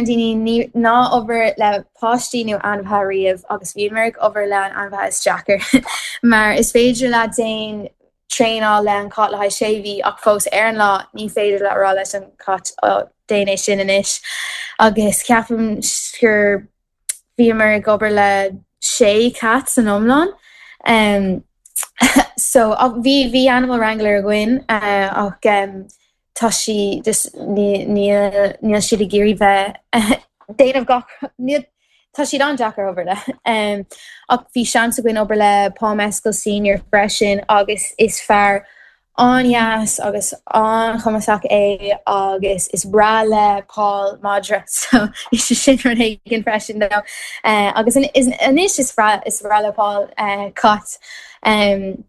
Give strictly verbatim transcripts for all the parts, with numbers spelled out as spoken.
Daoine ná obair le páistí nó ainmhithe riamh agus bhíomar ag obair le an ainmhithe is deacair mar is féidir le déan traenáil le an cat le haghaidh sé mhí ach fós ar an lá ní féidir le rá leis an cat déan é sin anois agus ceapaim gur bhíomar ag obair le sé cat san iomlán um, so bhí bhí animal wrangler againn uh, ach um, tá sí níl siad ag iarraidh bheith déanamh gach tá siad an-deacair obair le. Um, ach bhí seans againn obair le Paul Mescal Senior freisin agus is fear an-deas agus an-chumasach é agus is breá le Paul madra so is sin rud éigin freisin uh, agus anois is is breá le Paul uh, cat. Um,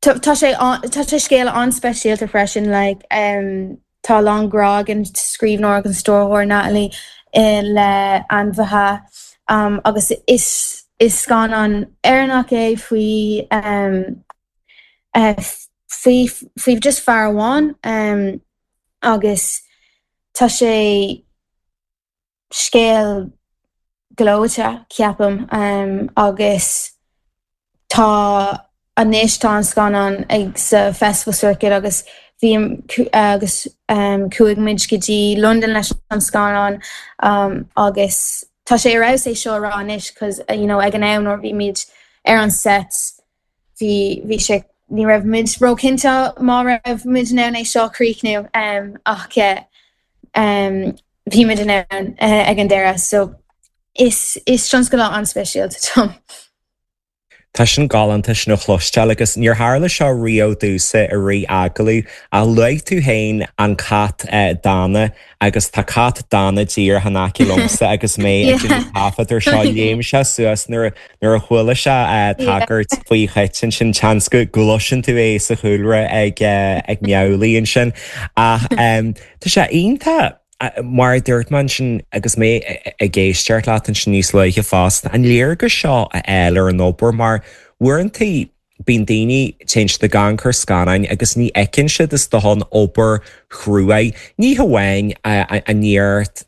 Tá sé tá sé scéal an-speisialta freisin like, um, tá lán grá ag an scríbhneoir agus stiúrthóir Natalie eh, le ainmhithe um, agus is is scannán Éireannach é faoi um, uh, faoi faoi just fear amháin um, agus tá sé scéal gleoite ceapaim um, agus tá anois tá an scannán ag sa festival circuit agus bhí agus um, chuaigh muid go dtí London leis an scannán um, agus tá sé ra é seo rá anois cos uh, you know, ag an am nuair bhí muid ar an set bhí bhí sé ní raibh muid róchinnte má raibh muid in ann é seo críochnú um, ach um, bhí muid in ann uh, ag an deireadh so is is tionscadal an-speisialta dom. Tá sin galánta sin a chloisteáil agus níor tharla seo riamh domhsa i rith agallamh a luaigh tú féin an cat eh, dána agus tá cat dána díreach in aice liomsa agus mé ag taifead ar seo léim sé suas nuair nuair a chuala sé eh, tagairt faoi chait sin seans go gcloiseann tú é sa chúlra ag eh, ag meabhlaí ansin ach tá sé iontach mar dúirt man sin agus mé ag éisteacht leat ansin níos luaithe fosta an léargas seo a fháil ar an obair mar uaireanta bíonn daoine téann siad ag amharc ar scannáin agus ní fheiceann siad is dócha an obair chrua ní hamháin an iarracht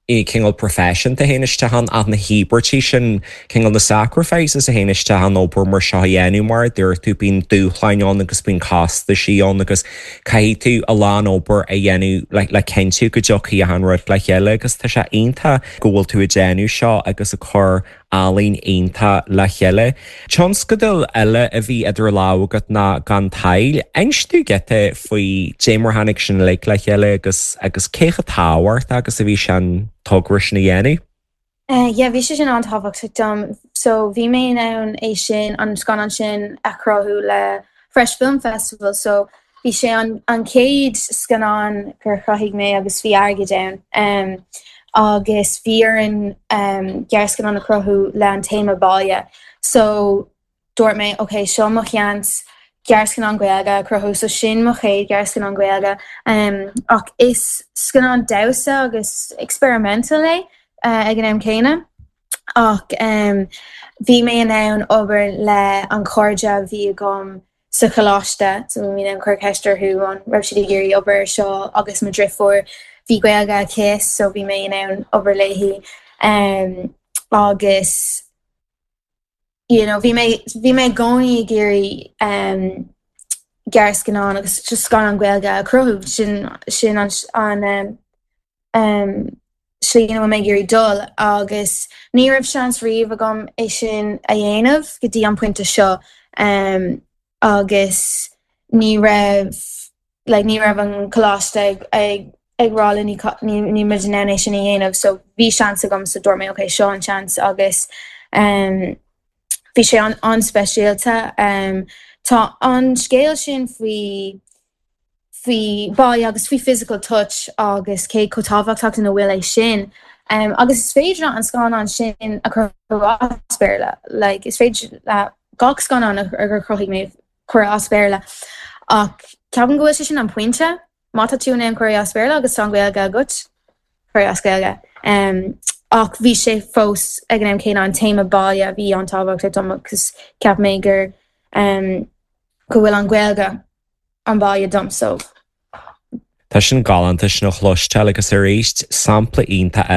i cineál proifisiúnta a théann isteach ann ach na híobairtí sin cineál na sacrifices a théann isteach an obair mar seo a dhéanamh mar dúirt tú bíonn dúshláin ann agus bíonn costaisí ann agus caithfidh tú a lán obair a dhéanamh le le cinntiú go dtiocfaidh an rud le chéile agus tá sé iontach go bhfuil tú ag déanamh seo agus ag cur ealaín iontach le chéile. Tionscadal eile a bhí idir lámha agat ná gan tadhall. Inis dúinn giota faoi dé mar tháinig sin le le chéile agus agus cé chomh tábhachtach agus a bhí sé an togra sin a dhéanamh. Uh, yeah, bhí sé sin an-tábhachtach dom. So bhí mé in ann é sin an scannán sin a chruthú le Fresh Film Festival, so bhí sé an, an chéad scannán gur chruthaigh mé agus bhí airgead ann. Um, agus bhí an um, gearrscannán a chruthú le an téama baile. So dúirt mé okay, seo mo sheans gearrscannán Gaeilge a chruthú so sin mo chéad gearrscannán Gaeilge um, ach is scannán damhsa agus experimental é uh, ag an am céanna. Ach um, bhí mé in ann obair le an cairde a bhí agam sa choláiste so bhí an chur ceist orthu an raibh siad ag iarraidh obair seo agus mo dheirfiúr bhí Gaeilge aici so bhí mé in ann obair léi um, agus you know, bhí mé bhí mé i gcónaí ag iarraidh um, gearrscannán agus just scannán Gaeilge a chruthú sin sin an an um, um, slí ina mé ag iarraidh dul agus ní raibh seans riamh agam é sin a dhéanamh go dtí an pointe seo um, agus ní raibh like, ní raibh an coláiste ag, ag ag rá ní ní muid in ann é sin a dhéanamh so bhí seans agam so dúirt mé okay seo an seans agus um, bhí sé an an-speisialta um, tá an scéal sin faoi faoi baile agus faoi physical touch agus cé chomh tábhachtach ina bhfuil é sin. Um, agus is féidir an scannán sin a chur as Béarla, like, is féidir le gach scannán a gur chruthaigh mé chur as Béarla. Ach ceapaim go bhfuil sé sin an pointe, má tá tú in ann cur as Béarla agus tá Gaeilge agat cur as Gaeilge. Um, ach bhí sé fós ag an am céanna an téama baile bhí an-tábhachtach dom agus cheap mé gur um, go bhfuil an Ghaeilge an baile dom so. Tá sin galánta sin a chloisteáil agus arís sampla iontach